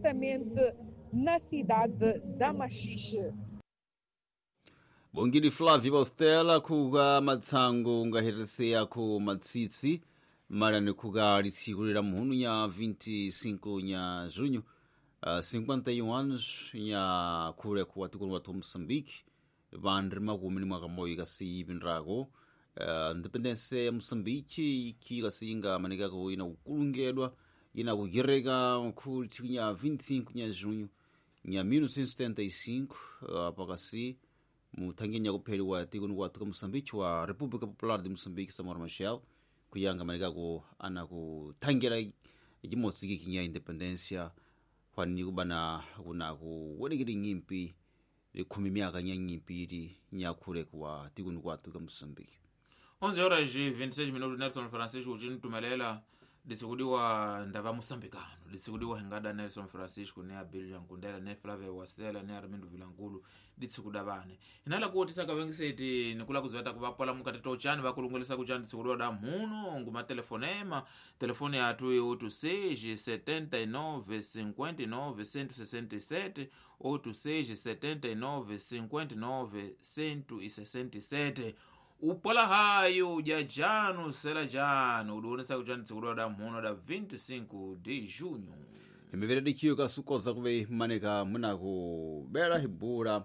concretamente na cidade da Machixe. Bongili Flávio Ostela kuga matsango ungahereseya ku matsitsi marani kuga litsikulira muhunu ya 25 nya junho 51 anos nya khule kuwa tikoni wathu Moçambique vandri makumi ni mwaka moyi kasi ipindrako independência ya Moçambique iki kasi ingamanikako ina kukulungedwa ina kugireka khu tsiku nya 25 nya junho nya 1975 pakasi muthangi kupheliwa tikoni kwathu ka Moçambique wa República Popular de Moçambique Samora Machel kuyanga manikako ana kuthangira cimodzi kikinya independência fani kubana kuna kuwonekera ng'impi likhumi myaka nya ng'impi ili nyakhule kuwa tikoni kwathu ka Moçambique. 11 horas e 26 minutos. Nelson Francisco ucinitumelela ditsikudiwa ndava moçambicano ditsikudiwa hingada Nelson Francisco ne Abilio Nkundela ne Flavio Wasela ne Armindo Vilankulu ditsikuda vane hinala kuotisa kavengiseti nikula kuzivata kuvapola mukati tochani vakulungulisa kuchani ditsikudiwa da muno nguma telefonema telefone yatu 86 79 59 167 86 79 59 167. Upola hayo jajano sela jano udionesa kuchani tsikudwa da mhono da 25 de junho. Imivere dikiyo kasukoza kuve maneka munakubera hibura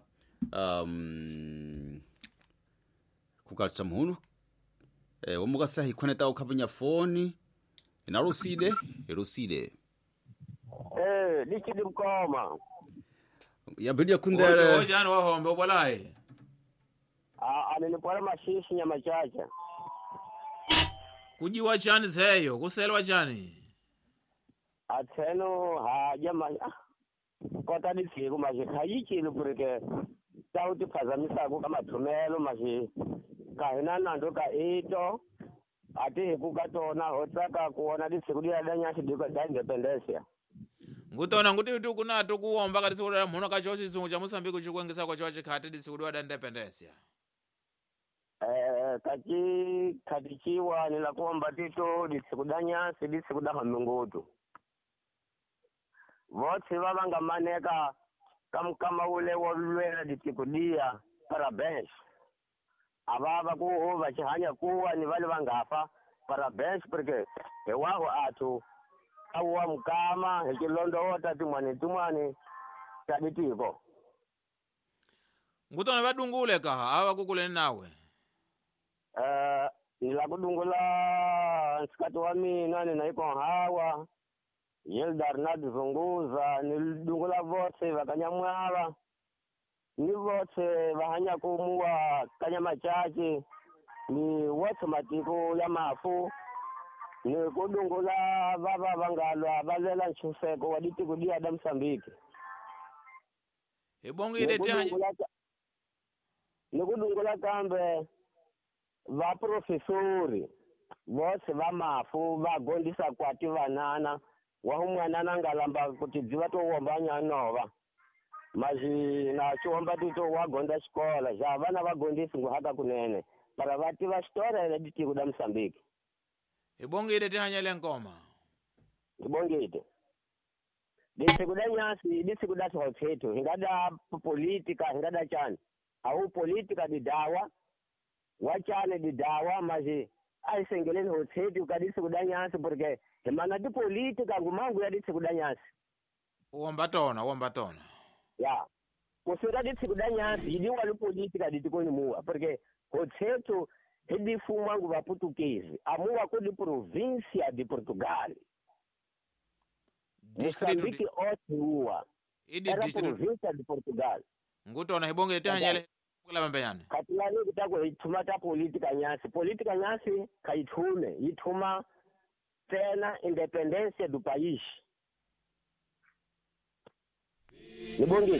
kukatsa muhunu womukasa hikhoneta ukhapinya foni inaruside iruside. Lichidi mkoma yabidia kundere ojano wahombe upolaye. Aninipola mashishi nyama chacha. Kujiwa chani zeyo kuselwa chani atseno haja ma kota ditsiku mashi khayichile porque ta u tiphazamisako ka mathumelo mashi ka hina nandzu ka ito a ti hi ku ka tona ho tsaka ku vona ditsiku diya da nyasi diko da independencia. Ngutona nguti tu kunato kuomba ka ditsiku da mhono ka chosi chizungu cha Moçambique chikuengesa kwa chochi khati ditsiku da independencia. Kachi khatichiwa ni la kuomba tito ditsiku da nyasi ditsiku da hamungutu votse va va nga maneka ka mukama ule wo lwela ditsiku diya parabéns a va va ku va xihanya kuwa ni vale va nga fa parabéns porque hi waho athu a wa mukama hi tilondowota tin'wani tin'wani ta ditiko. Ngutona va dungule kaha a va kukuleni nawe. Ni la ku dungula nsikati wa mina ni na ikonhawa Yildarnad Zunguza ni dungula votse va Kanyamwava ni votse va hanyaka muwa Kanyamachache ni wotse matiko ya mafu ni ku dungula va va va nga lwa va lwela ntshunxeko wa ditiko diya da Mosambiki. Hi bongile tihanya ni ku dungula kambe va profesori votse va mafu va gondisa kwati vanana wa humwanana nga lamba kuti dziva to womba nyanova mazi na chiwomba tito wa gonda xikola xa vana va gondisi nguhaka kunene para va tiva xitora ya ditiko da Mosambiki. Hi bongile tihanyele nkoma. Hi bongile ditsiku da nyasi ditsiku da tshothethu hi nga da politika hi nga da chani awu politika didawa wa chani didawa mazi a hi sengeleni hothethu ka ditsiku da nyasi porque hi mana tipolitika ngumangu ya ditsiku da nyasi. Uomba tona uomba tona ya kusuka ditsiku da nyasi yi diwa lipolitika ditikoni muwa porque hothethu hi difuma ngu vaputukezi amuwa ku di província de Portugal. Moçambique otiwa idi era distrito província de Portugal. Ngutona hi bongile tihanyele kula mbenyane. Katilani kutaku hi thuma ta politika nyasi politika nyasi kha yi thume yi thuma tsena independência do país. Ni bongile.